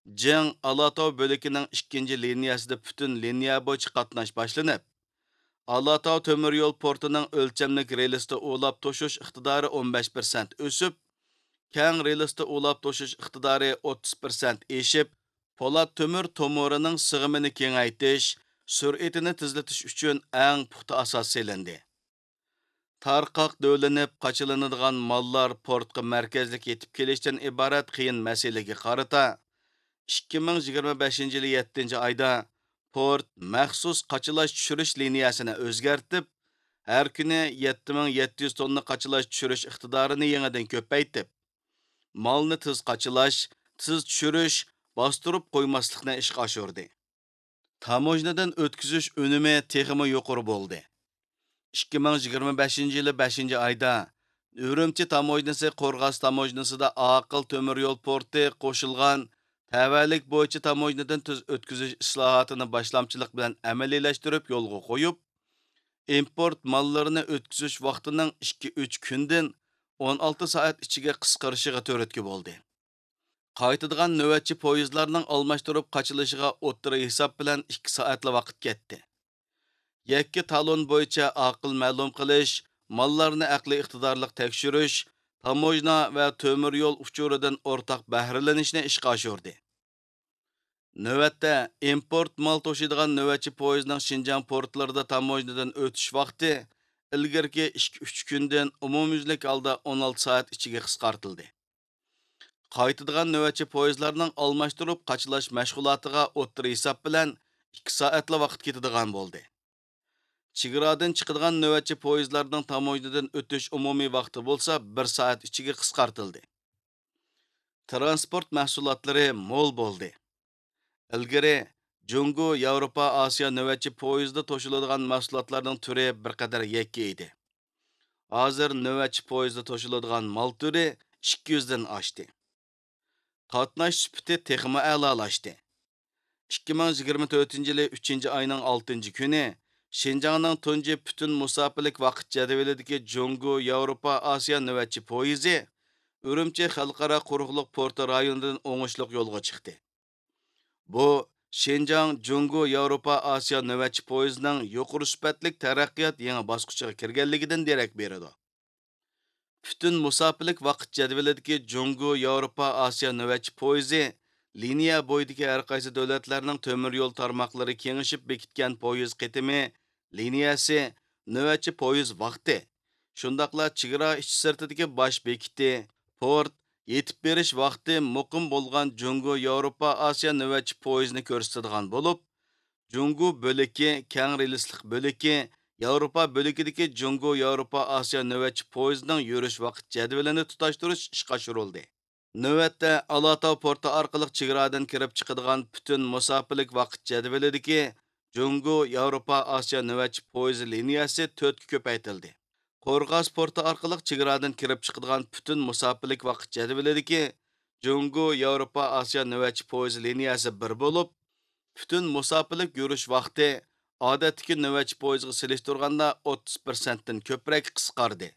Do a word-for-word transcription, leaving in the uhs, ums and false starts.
جىڭ ئالاتاۋ بۆلىكىنىڭ ئىككىنچى لىنىيەسىدە پۈتۈن لىنىيە بويىچە قاتناش باشلىنىپ، ئالاتاۋ تۆمۈر يول پورتىنىڭ ئۆلچەملىك رېلىستا ئۇلاپ توشۇش ئىقتىدارى ئون بەش پىرسەنت ئۆسۈپ، كەڭ رېلىستا ئۇلاپ توشۇش ئىقتىدارى ئوتتۇز پىرسەنت ئېشىپ، پولات تۆمۈر تومۇرىنىڭ سىغىمىنى كېڭەيتىش، سۈرئىتىنى تېزلىتىش ئۈچۈن ئەڭ پۇختا ئاساس سېلىندى. تارقاق دۆۋىلىنىپ قاچىلىنىدىغان ماللار پورتقا مەركەزلىك يېتىپ كېلىشتىن ئىبارەت قىيىن مەسىلىگە قارىتا، ئىككى مىڭ يىگىرمە بەشىنچى يىلى يەتتىنچى ئايدا پورت مەخسۇس قاچىلاش چۈشۈرۈش لىنىيەسىنى ئۆزگەرتىپ، ھەر كۈنى يەتتە مىڭ يەتتە يۈز توننا قاچىلاش چۈشۈرۈش ئىقتىدارىنى يېڭىدىن كۆپەيتىپ، مالنى تېز قاچىلاش، تېز چۈشۈرۈش، باستۇرۇپ قويماسلىقنى ئىشقا ئاشۇردى. تاموژنىدىن ئۆتكۈزۈش ئۈنۈمى تېخىمۇ يۇقىرى بولدى. ئىككى مىڭ يىگىرمە بەشىنچى يىلى بەشىنچى ئايدا ئۈرۈمچى تاموژنىسى قورغاس تاموژنىسىدا ئاقىل تۆمۈر يول پورتى قوشۇلغان تەۋەلىك بويىچە تاموژنىدىن تېز ئۆتكۈزۈش ئىسلاھاتىنى باشلامچىلىق بىلەن ئەمەلىيلەشتۈرۈپ يولغا قويۇپ، ئىمپورت ماللىرىنى ئۆتكۈزۈش ۋاقتىنىڭ ئىككى، ئۈچ كۈندىن ئون ئالتە سائەت ئىچىگە قىسقىرىشىغا تۈرتكە بولدى. قايتىدىغان نۆۋەتچى پويىزلارنىڭ ئالماشتۇرۇپ قاچىلىشىغا ئوتتۇرا ھېساب بىلەن ئىككى سائەتلا ۋاقىت كەتتى. يەككە تالون بويىچە ئاقىل مەلۇم قىلىش، ماللارنى ئەقلىي ئىقتىدارلىق تەكشۈرۈش، تاموژنا ۋە تۆمۈر يول ئۇچۇرىدىن ئورتاق بەھرىلىنىشنى ئىشقا ئاشۇردى. نۆۋەتتە، ئىمپورت مال توشۇيدىغان نۆۋەتچى پويىزنىڭ شىنجاڭ پورتلىرىدا تاموژنىدىن ئۆتۈش ۋاقتى ئىلگىرىكى ئىككى، ئۈچ كۈندىن ئومۇميۈزلۈك ھالدا ئون ئالتە سائەت ئىچىگە قىسقارتىلدى. قايتىدىغان نۆۋەتچى پويىزلارنىڭ ئالماشتۇرۇپ قاچىلاش مەشغۇلاتىغا ئوتتۇرا ھېساب بىلەن ئىككى سائەتلا ۋاقىت كېتىدىغان بولدى. چېگرادىن چىقىدىغان نۆۋەتچى پويىزلارنىڭ تاموژنىدىن ئۆتۈش ئومۇمىي ۋاقتى بولسا بىر سائەت ئىچىگە قىسقارتىلدى. تىرانسپورت مەھسۇلاتلىرى مول بولدى. ئىلگىرى جۇڭگو ياۋروپا ئاسىيا نۆۋەتچى پويىزىدا توشۇلىدىغان مەھسۇلاتلارنىڭ تۈرى بىر قەدەر يەككە ئىدى. ھازىر نۆۋەتچى پويىزدا توشۇلىدىغان مال تۈرى ئىككى يۈزدىن ئاشتى. قاتناش سۈپىتى تېخىمۇ ئەلالاشتى. ئىككى مىڭ يىگىرمە تۆتىنچى يىلى ئۈچىنچى ئاينىڭ ئالتىنچى كۈنى شىنجاڭنىڭ تۇنجى پۈتۈن مۇساپىلىك ۋاقىت جەدۋىلىدىكى جۇڭگو ياۋروپا ئاسىيا نۆۋەتچى پويىزى ئۈرۈمچى خەلقئارا قۇرۇقلۇق پورتى رايونىدىن ئوڭۇشلۇق يولغا چىقتى. بۇ شىنجاڭ جۇڭگو ياۋروپا ئاسىيا نۆۋەتچى پويىزىنىڭ يۇقىرى سۈپەتلىك تەرەققىيات يېڭى باسقۇچىغا كىرگەنلىكىدىن دېرەك بېرىدۇ. پۈتۈن مۇساپىلىك ۋاقىت جەدۋىلىدىكى جۇڭگو ياۋروپا ئاسىيا نۆۋەتچى پويىزى لىنىيە بويىدىكى ھەر قايسى دۆلەتلەرنىڭ تۆمۈر يول تارماقلىرى كېڭىشىپ بېكىتكەن پويىز قېتىمى، لىنىيەسى، نۆۋەتچى پويىز ۋاقتى، شۇنداقلا چېگرا ئىچى سىرتىدىكى باش بېكىتى، پورت، يېتىپ بېرىش ۋاقتى مۇقىم بولغان جۇڭگو ياۋروپا ئاسىيا نۆۋەتچى پويىزىنى كۆرسىتىدىغان بولۇپ، جۇڭگو بۆلىكى، كەڭ رېلىسلىق بۆلىكى، ياۋروپا بۆلىكىدىكى جۇڭگو ياۋروپا ئاسىيا نۆۋەتچى پويىزىنىڭ يۈرۈش ۋاقىت جەدۋىلىنى تۇتاشتۇرۇش ئىشقا ئاشۇرۇلدى. نۆۋەتتە ئالاتاۋ پورتى ئارقىلىق چېگرادىن كىرىپ چىقىدىغان پۈتۈن مۇساپىلىك ۋاقىت جەدۋىلىدىكى جۇڭگو ياۋروپا ئاسىيا نۆۋەتچى پويىزى لىنىيەسى تۆتكە كۆپەيتىلدى. قورغاس پورتى ئارقىلىق چېگرادىن كىرىپ چىقىدىغان پۈتۈن مۇساپىلىك ۋاقىت جەدۋىلىدىكى جۇڭگو ياۋروپا ئاسىيا نۆۋەتچى پويىزى لىنىيەسى بىر بولۇپ، پۈتۈن مۇساپىلىك يۈرۈش ۋاقتى ئادەتتىكى نۆۋەتچى پويىزغا سېلىشتۇرغاندا ئوتتۇز پىرسەنتتىن كۆپرەك قىسقاردى.